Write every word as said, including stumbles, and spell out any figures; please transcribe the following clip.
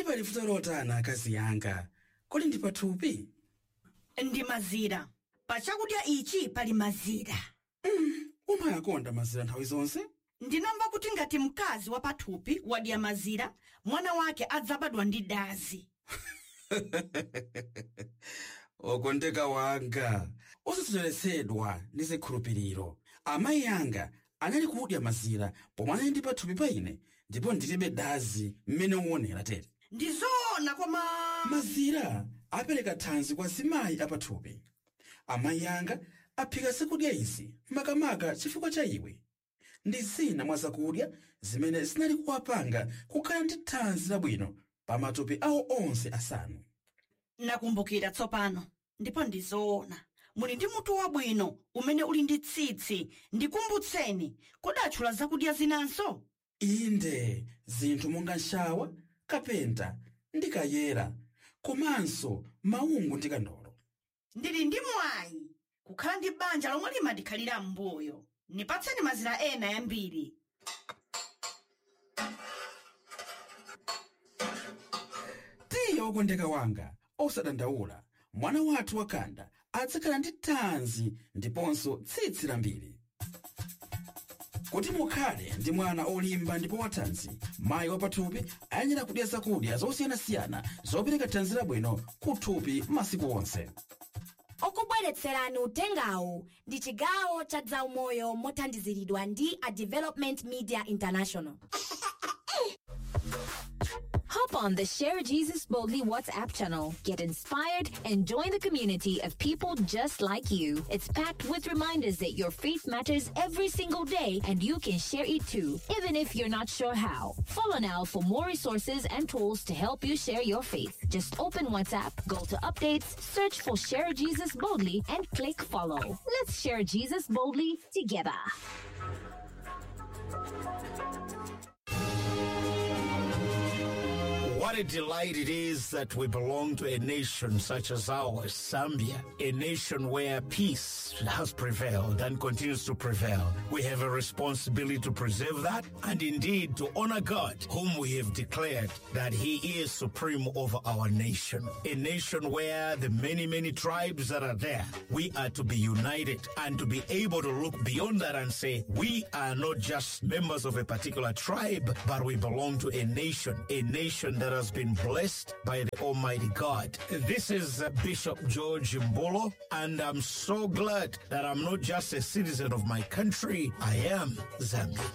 Kodi pali vuto lotani akazi yanga? Kodi ndi pathupi? Ndi mazira. Pa chakudya ichi pali mazira. Umayakonda mazira nthawi zonse? Ndinamva kuti ngati mkazi wa pathupi wadya mazira, mwana wake adzabadwa ndi dazi. Okondeka wanga, osasocheretsedwa ndi zikhulupiriro. Amayi anga anali kudya mazira pomwe anali ndi pathupi pa ine, ndipo ndilibe dazi mmene uonera tere. Ndi zoona, koma mazira apereka thanzi kwa zimayi apathupi. Amayi anga aphika zakudya izi makamaka chifukwa cha iwe. Ndi zina mwa zakudya zimene zinali kuwapanga kukhala ndi thanzi labwino pa matupi awo onse asanu. Nakumbukira tsopano, ndipo ndi zoona. Muli ndi mutu wabwino umene uli ndi tsitsi. Ndikumbutseni, kodi atchula zakudya zinanso? Inde, zinthu monga nshawa, kapenta ndi kayera, komanso maungu ndi kandolo. Ndili ndi mwayi kukhala ndi banja lomwe limandikhalira m'mbuyo. Nipatseni mazira ena yambiri. Tiye, wokondeka wanga, osadandaula. Mwana wathu wakhanda adzakhala ndi thanzi ndiponso tsitsi lambiri. Kuti mukhale ndi mwana olimba ndipo wathanzi, mayi wapathupi ayenera kudya zakudya zosiyanasiyana zopereka thanzi labwino kuthupi masiku onse. Okubweretserani utengawu ndi chigawo cha zaumoyo mothandiziridwa ndi a Development Media International. Hop on the Share Jesus Boldly WhatsApp channel. Get inspired and join the community of people just like you. It's packed with reminders that your faith matters every single day and you can share it too, even if you're not sure how. Follow now for more resources and tools to help you share your faith. Just open WhatsApp, go to updates, search for Share Jesus Boldly, and click follow. Let's share Jesus boldly together. What a delight it is that we belong to a nation such as ours, Zambia, a nation where peace has prevailed and continues to prevail. We have a responsibility to preserve that and indeed to honor God, whom we have declared that He is supreme over our nation. A nation where the many, many tribes that are there, we are to be united and to be able to look beyond that and say, we are not just members of a particular tribe, but we belong to a nation, a nation that has been blessed by the Almighty God. This is uh, Bishop George Mbolo, and I'm so glad that I'm not just a citizen of my country, I am Zambian.